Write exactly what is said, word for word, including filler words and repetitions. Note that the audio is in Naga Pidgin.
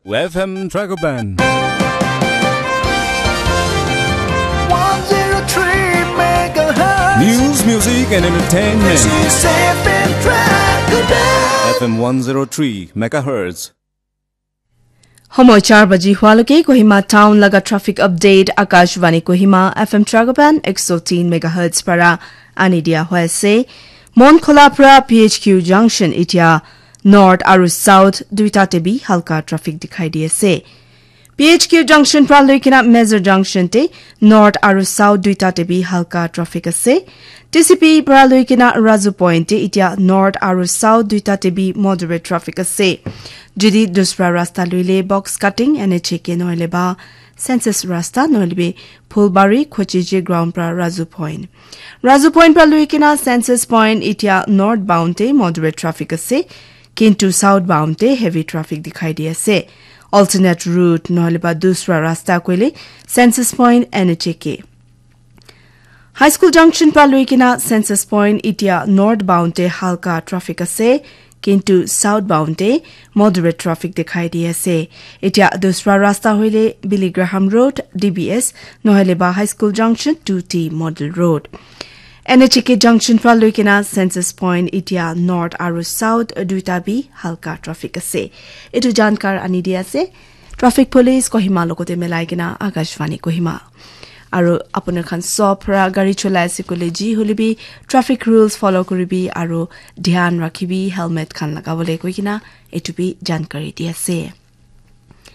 F M Dragoban. one zero three megahertz. News, music, and entertainment. This is F M Dragoban. F M one zero three megahertz. Homo char baji hualoke Kohima Town laga traffic update Akashvani Kohima F M Dragoban ek so tin megahertz para ani dia hoise. Monkhola pra P H Q junction itia north aru south duita te bi halka traffic dikhai di ase. P H Q junction pra lui kena Major junction te north aru south duita te bi halka traffic ase. T C P pra lui kena Razu point te itia north aru south duita te bi moderate traffic ase. Jodi dusra rasta luile box cutting N H A K nohole ba census rasta nohole bi Phulbari Khochiji ground pra Razu point. Razu point pra lui kena census point itia north bound te moderate traffic ase. Kintu south bound te heavy traffic dikhai di ase. Alternate route nohole ba dusra rasta koile census point N H A K. High School Junction pra lui kena census point itia north bound te halka traffic ase. Kintu south bound te moderate traffic dikhai di ase. Itia dusra rasta hoile Billy Graham Road, D B S, nohole ba High School Junction two T Model Road. N H A K junction pra lui kena census point itia north aru south duita bi halka traffic ase. Etu jankar ani di ase traffic police Kohima logote milai kena Akashvani Kohima. Aru apuni khan sob pra gari cholai ase koile ji hoile bi traffic rules follow kuribi aru dhyan rakhibi helmet khan lagabole koi kena etu bi jankari di ase.